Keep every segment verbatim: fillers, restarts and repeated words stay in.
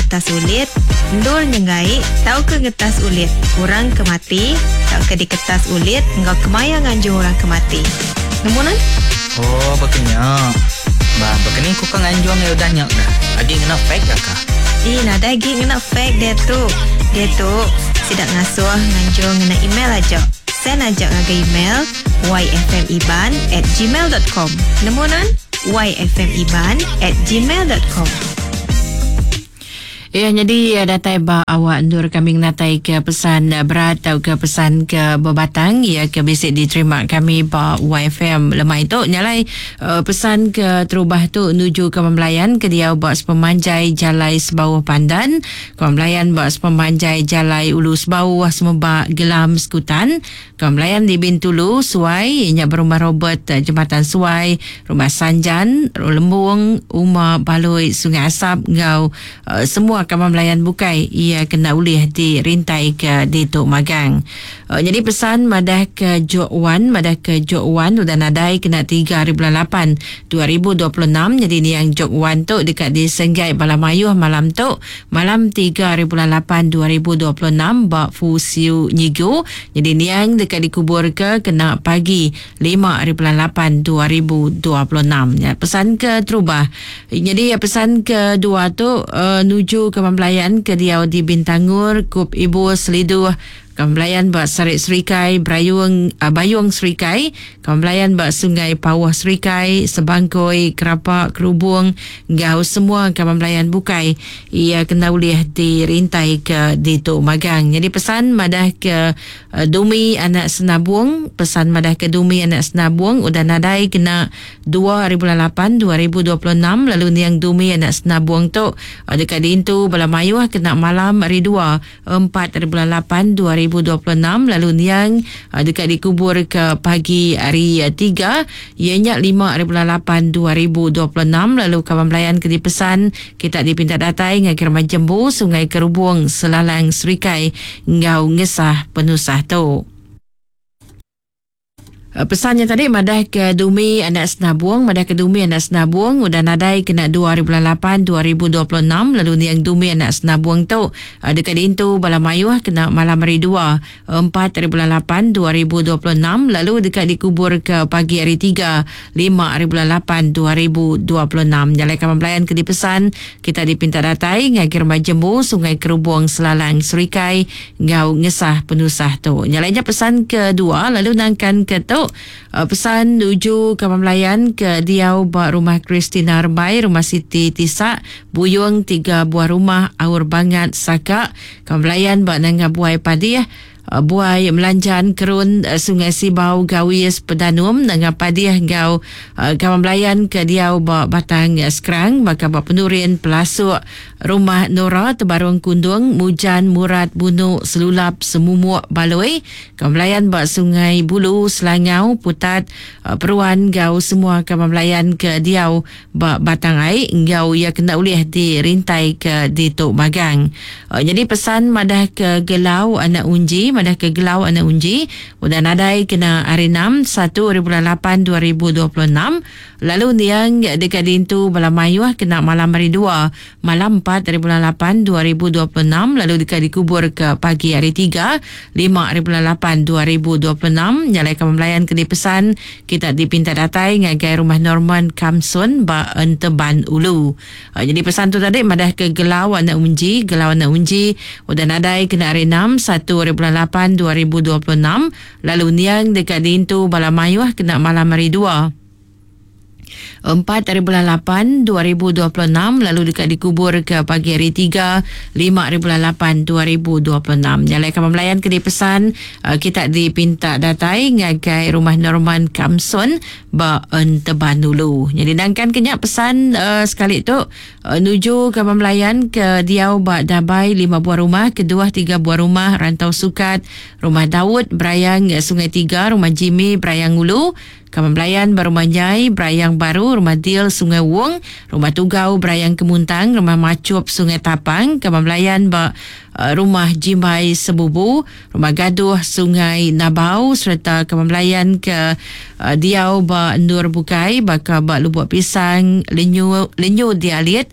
ngetas ulit, endur nyenggai tauka ngetas ulit orang ke mati tauka diketas ulit enggau kemaya nganjung orang ke mati. Nemu nan? Oh, bekenya. Ba, bekeni ku ka nganjung ya udah nya dah. Agi ngena fax ya ka? Ih, nadai agi ngena fax dia tu. Dia tu sida ngasuh nganjung ngena email aja. Send aja ngagai email yfmiban at gmail dot com. Nemu nan? yfmiban at gmail dot com. Ya, jadi datai ba awak endur kami natai ke pesan berat atau ke pesan ke berbatang ya ke bisi diterima kami ba Y F M lemai tu nyalai uh, pesan ke terubah tu nuju ke pembelayan ke dia ba sepemanjai Jalai Sebauh Pandan, pembelayan ba sepemanjai Jalai Ulu Sebauh Semeba Gelam Sekutan, pembelayan di Bintulu Suai nya berumah Robert Jembatan Suai, Rumah Sanjan, Lembung, Uma Baloi Sungai Asap ngau uh, semua kawan melayan bukai ia kena ulih dirintai ke di Tok Magang. Uh, jadi pesan madah ke Jok Wan, madah ke Jok Wan udah nadai kena tiga hari bulan lapan dua ribu dua puluh enam. Jadi ni yang Jok Wan tu dekat di Senggai Balamayuh malam tu, malam tiga hari bulan lapan dua ribu dua puluh enam ba Fusiu Nyigu. Jadi ni yang dekat dikubur ke kena pagi lima hari bulan lapan dua ribu dua puluh enam. Ya, pesan ke terubah. Jadi ya, pesan kedua tu uh, nuju ke pembelayan ke diau di Bintangur, Kup Ibu Seliduh, pembelayan ba Sarik Serikai, Brayung, uh, Bayung Serikai, pembelayan ba Sungai Pawah Serikai, Sebangkoi, Kerapa, Kerubung, ngau semua pembelayan bukai ia kena ulih dirintai ke di Tok Magang. Jadi pesan madah ke uh, Dumi anak Senabung, pesan madah ke Dumi anak Senabung udah nadai kena dua hari bulan lapan dua ribu dua puluh enam. Lalu niang Dumi anak Senabung tu uh, dekat diintu bala mayuh kena malam hari dua empat hari bulan lapan dua ribu dua puluh enam. Lalu niang uh, dekat dikubur ke pagi hari uh, tiga ianya lima hari bulan lapan dua ribu dua puluh enam. Lalu kawan pelayan ke dipesan kita dipinta datai ngagai rumah Jembu Sungai Kerubung Selalang Serikai ngau ngesah penusah tu. Pesannya tadi madah ke Dumi anak Senabung, madah ke Dumi anak Senabung udah nadai kena dua hari bulan lapan dua ribu dua puluh enam. Lalu niang Dumi anak Senabung tu dekat diintu bala mayuh kena malam hari dua empat hari bulan lapan dua ribu dua puluh enam. Lalu dekat dikubur ke pagi hari tiga lima hari bulan lapan dua ribu dua puluh enam. Jalai kawan pelayan ke dipesan kita dipinta datai ngagai rumah Jembu Sungai Kerubung Selalang Serikai ngau ngesah penusah tu. Nyalainya pesan kedua lalu nangkan ke tu pesan nuju ke pembelayan ke diau ba rumah Christina Rebai, rumah Siti Tisak, Buyung tiga buah rumah Aur Bangat Saka, pembelayan ba Nanga Buai Padih, Buai Melanjan Kerun Sungai Sibau Gawis Pedanum Nanga Padih ngau kawan belayan ke diau ba Batang Sekerang baka ba Penurin Pelasuk Rumah Nora Tebarung Kundung Mujan Murad Bunu Selulap Semumuk Baloi, kawan belayan ba Sungai Bulu Selangau Putat Peruan gau semua kawan belayan ke diau ba Batang Ai ngau ia kena ulih dirintai ke di Tok Magang. Jadi pesan madah ke Gelau anak Unji, madah ke Gelau anak Unji udah nadai kena hari enam satu hari bulan lapan dua ribu dua puluh enam. Lalu niang dekat dintu bala mayuh kena malam hari dua malam empat hari bulan lapan dua ribu dua puluh enam. Lalu dekat dikubur ke pagi hari tiga lima hari bulan lapan dua ribu dua puluh enam. Nyalai kawan pelayan ke dipesan kita dipinta datai ngagai rumah Norman Kamsun ba Enteban Ulu. Jadi pesan tu tadi madah ke Gelau anak Unji, Gelau anak Unji udah nadai kena hari enam satu hari bulan lapan dua ribu dua puluh enam. Lalu niang dekat dintu bala mayuh kena malam hari dua empat hari bulan lapan dua ribu dua puluh enam. Lalu dekat dikubur ke pagi hari tiga lima hari bulan lapan dua ribu dua puluh enam. Nyalai kawan pelayan ke dipesan kita dipinta datai ngagai rumah Norman Kamsun ba Enteban dulu. Jadi nangkan kenyak pesan uh, sekali tu uh, nuju kawan pelayan ke diau ba Dabai lima buah rumah, kedua tiga buah rumah Rantau Sukat, rumah Daud Berayang Sungai Tiga, rumah Jimmy Berayang Ulu, kawan pelayan Rumah Nyai Berayang Baru, Rumah Dil Sungai Wong, Rumah Tugau Berayang Kemuntang, Rumah Macup Sungai Tapang, kawan pelayan ba uh, Rumah Jimbai Sebubu, Rumah Gaduh Sungai Nabau serta kawan pelayan ke uh, diau ba Nur Bukai baka ba Lubuk Pisang Lenyu Lenyu Dialit,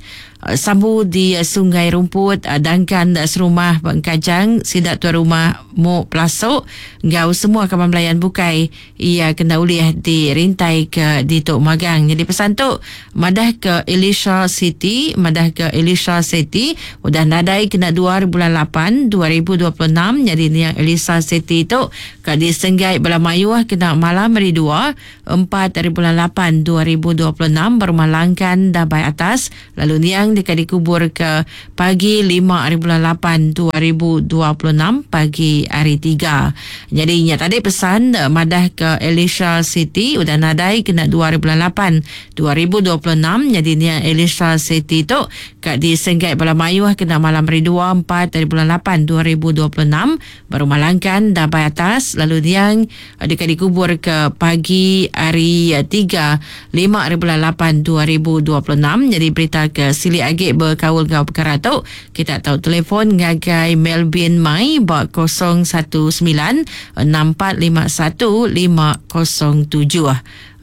Sambu di Sungai Rumput, Dangkan serumah Bengkajang, sida tuan rumah Mok Plasok ngau semua kaban belayan bukai ia kena ulih dirintai ke ditu magang. Jadi pesan tu madah ke Elisha City, madah ke Elisha City udah nadai kena dua bulan lapan dua ribu dua puluh enam. Jadi ni yang Elisha City tu ka disenggai bala mayuh kena malam hari dua empat hari bulan lapan dua ribu dua puluh enam berumah Langkan Dabai Atas, lalu niang deka dikubur ke pagi lima hari bulan lapan dua ribu dua puluh enam pagi hari tiga. Jadi nya tadi pesan madah ke Elisha City udah nadai kena dua hari bulan lapan dua ribu dua puluh enam. Jadi nya Elisha City tu ka disenggai bala mayuh kena malam hari dua empat hari bulan lapan dua ribu dua puluh enam berumah Langkan Dabai Atas, lalu niang deka dikubur ke pagi hari tiga lima hari bulan lapan dua ribu dua puluh enam. Jadi berita ke silik agi berkaul ngau perkara tu kita tahu telefon ngagai Melvin Mai ba kosong satu sembilan enam empat lima satu lima kosong tujuh.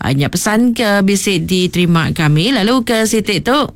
Hanya pesan ke bisik diterima kami. Lalu ke sitik tu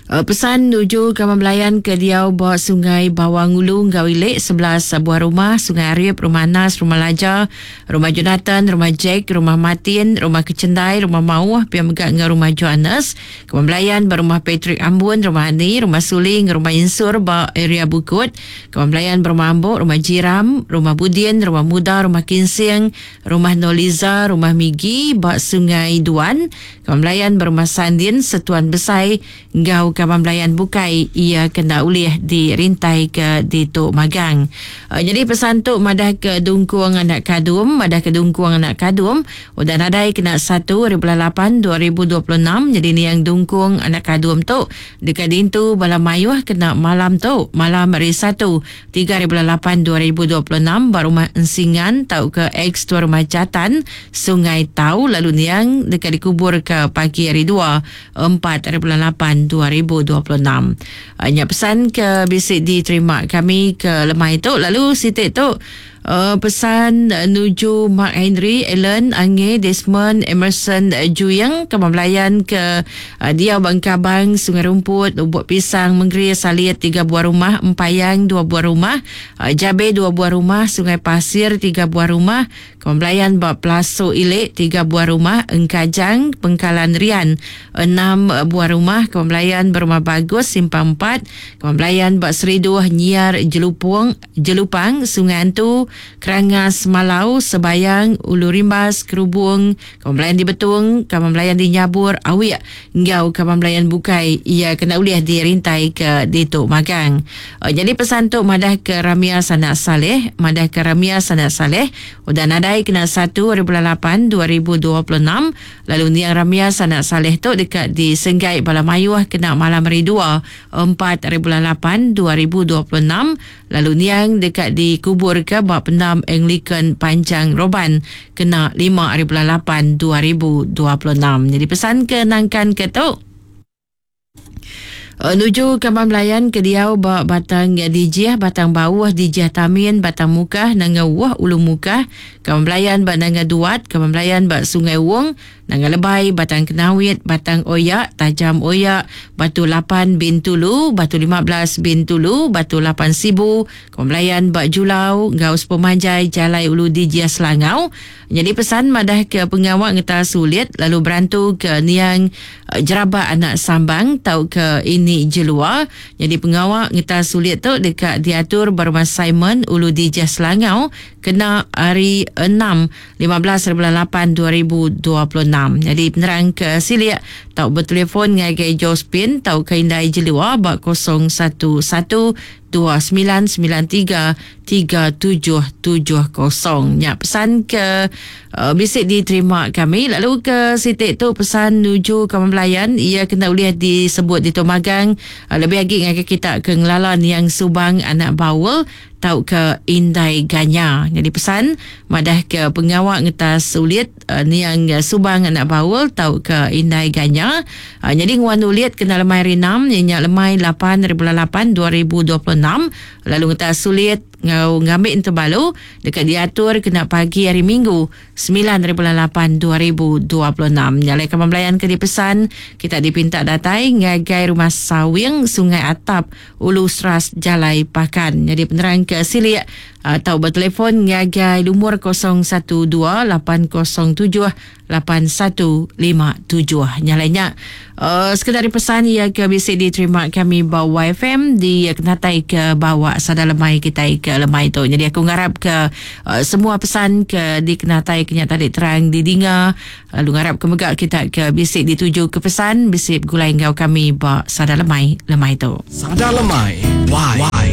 pesan nuju kaman belayan ke diau ba Sungai Bawang Ulu Ngau Ilik sebelas buah rumah, Sungai Arif, Rumah Nas, Rumah Laja, Rumah Jonathan, Rumah Jack, Rumah Martin, Rumah Kecendai, Rumah Mauh, pia mega ngau Rumah Johannes. Kaman belayan ba Rumah Patrick Ambun, Rumah Ani, Rumah Suling, Rumah Insur ba area Bukut. Kaman belayan ba Rumah Ambok, Rumah Jiram, Rumah Budin, Rumah Muda, Rumah Kinsing, Rumah Noliza, Rumah Migi ba Sungai Duan. Kaman belayan ba Rumah Sandin, Setuan Besai ngau kaban belayan bukai ia kena ulih dirintai ke ditu magang. Uh, jadi pesan tu madah ke dungkuang anak kadum, madah ke dungkuang anak kadum udah nadai kena satu hari bulan lapan dua ribu dua puluh enam. Jadi ni yang dungkuang anak kadum tu dekat dintu bala mayuh kena malam tu, malam hari satu tiga hari bulan lapan dua ribu dua puluh enam ba rumah Ensingan tau ke ex tuan rumah Jatan Sungai Tau, lalu niang dekat dikubur ke pagi hari dua empat hari bulan lapan dua ribu dua puluh enam. Hanya pesan ke bisik diterima kami ke lemai tu. Lalu sitik tu Uh, pesan uh, nuju Mark Henry, Ellen, Ange, Desmond, Emerson, uh, Juyang, kaman belayan ke uh, Diau Bangkabang, Sungai Rumput, Lubuk Pisang, Menggeri, Saliet tiga buah rumah, Empayang dua buah rumah, uh, Jabe dua buah rumah, Sungai Pasir tiga buah rumah, kaman belayan Bak Plaso Ilik tiga buah rumah, Engkajang, Pengkalan Rian enam buah rumah, kaman belayan Berumah Bagus, Simpang empat, kaman belayan Bak Seriduh, Nyiar, Jelupung, Jelupang, Sungai Antu, Kerangas, Malau, Sebayang, Ulu Rimbas, Kerubung, kaman belayan di Betung, kaman belayan di Nyabur, Awik, ngau kaman belayan bukai ia kena ulih dirintai ke ditu magang. Uh, jadi pesan tu madah ke Ramia Sanak Saleh, madah ke Ramia Sanak Saleh udah nadai kena satu hari bulan lapan dua ribu dua puluh enam. Lalu niang Ramia Sanak Saleh tu dekat di Senggai Bala Mayuh kena malam hari dua empat hari bulan lapan dua ribu dua puluh enam. Lalu niang dekat dikubur ke bak Pendam Anglican Panjang Roban kena lima hari bulan lapan dua ribu dua puluh enam. Jadi pesan ke nangkan ke tu Menuju kaman belayan ke diau ba Batang Dijiah, Batang Bawah, Dijiah Tamin, Batang Mukah, Nanga Wah, Ulu Mukah, kaman belayan ba Nanga Duat, kaman belayan ba Sungai Wong, Nanga Lebai, Batang Kenawit, Batang Oyak, Tajam Oyak, Batu Lapan Bintulu, Batu lima belas Bintulu, Batu Lapan Sibu, kaman belayan ba Julau, Gau Sepemanjai, Jalai Ulu Dijiah Selangau. Jadi pesan madah ke pengawak ngeta sulit lalu berantu ke niang Jerabak Anak Sambang tau ke ini Jelua. Jadi pengawak ngeta sulit tu dekat diatur berumah Simon Ulu Dijah Selangau kena hari enam lima belas bulan lapan dua ribu dua puluh enam. Jadi penerang ke silik tau bertelefon ngagai Jospin tau ke Indai Jelua bak kosong satu satu dua sembilan sembilan tiga tiga tujuh tujuh kosong. Ya, pesan ke uh, bisik diterima kami. Lalu ke sitik tu pesan nuju kaman belayan ia kena boleh disebut di Tomagang uh, lebih lagi dengan kita ke ngelalan yang Subang Anak Bawel tau ke Indai Ganya. Jadi pesan madah ke pengawak ngeta sulit uh, niang Subang Anak Bawel tau ke Indai Ganya. Uh, jadi nguan ulit kena lemai rinam nyenyak lemai lapan bulan lapan dua ribu dua puluh enam. Lalu ngeta sulit Ngau ngambi entebalu dekat diatur kena pagi hari Minggu sembilan hari bulan lapan dua ribu dua puluh enam. Nyalai kaman belayan ke dipesan kita dipinta datai ngagai rumah Sawing Sungai Atap Ulu Seras Jalai Pakan. Jadi penerang ke silik atau bertelefon ngagai lumur kosong satu dua lapan kosong tujuh lapan satu lima tujuh. Nyalainya uh, sekedar pesan ia ke bisi diterima kami bawa Y F M di kenatai ke bawa sada lemai kita ke lemai tu. Jadi aku ngarap ke uh, semua pesan ke dikenatai kenya tadi terang didinga, lalu ngarap ke mega kita ke bisi dituju ke pesan bisi gulai enggau kami ba sada lemai lemai tu. Sada lemai Y